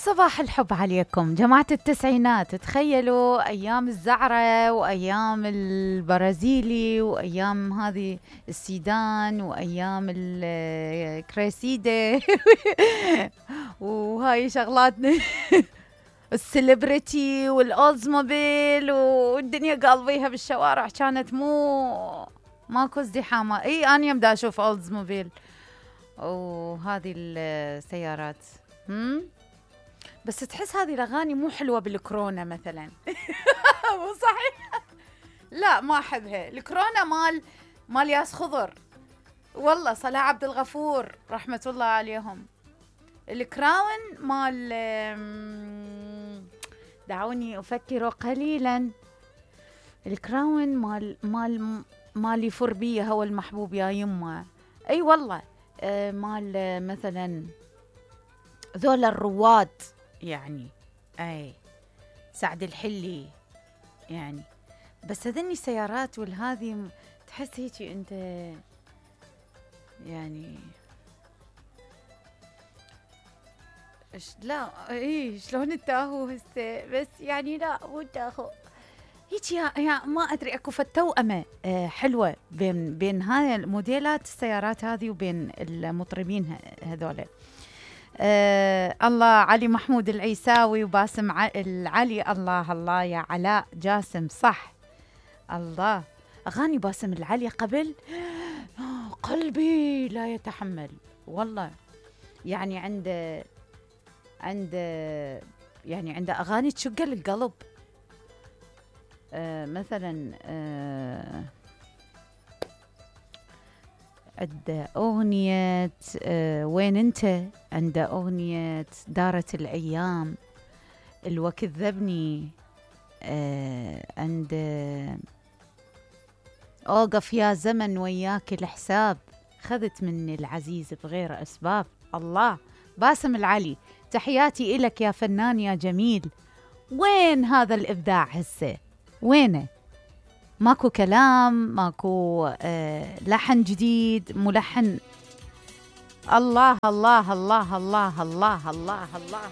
صباح الحب عليكم جماعة التسعينات. تخيلوا أيام الزعرة وأيام البرازيلي وأيام هذه السيدان وأيام الكريسيدة وهاي شغلاتنا السليبرتي والأولزموبيل والدنيا قلبيها بالشوارع كانت ماكو ازدحامة. أنا يوم دا أشوف أولزموبيل وهذه السيارات بس تحس هذه الأغاني مو حلوة بالكورونا مثلا. مو صحيح؟ لا ما أحبها. الكورونا مال ياس خضر والله، صلاح عبد الغفور رحمة الله عليهم. الكراون مال دعوني أفكر قليلا. الكراون مال يفر بيه هو المحبوب يا يمه. أي والله مال مثلا ذول الرواد يعني، أي سعد الحلي يعني. بس هذني السيارات والهذه تحس هيك أنت يعني لا شلون التاهو هسه، بس يعني لا مو التاهو هيك يا ما أدري. أكو فتوأمة حلوة بين هاي الموديلات السيارات هذه وبين المطربين هذول. الله علي محمود العيساوي وباسم العلي. الله يا علاء جاسم صح. الله أغاني باسم العلي قبل قلبي لا يتحمل والله. يعني عنده أغاني تشق القلب. مثلا عنده أغنية وين أنت، عنده أغنية دارت الأيام، الوقت ذبني، عنده أوقف يا زمن وياك الحساب، خذت مني العزيز بغير أسباب. الله باسم العلي تحياتي إلك يا فنان يا جميل. وين هذا الإبداع هسه؟ وينه؟ ماكو كلام، ماكو لحن جديد، ملحن. الله الله الله الله الله الله الله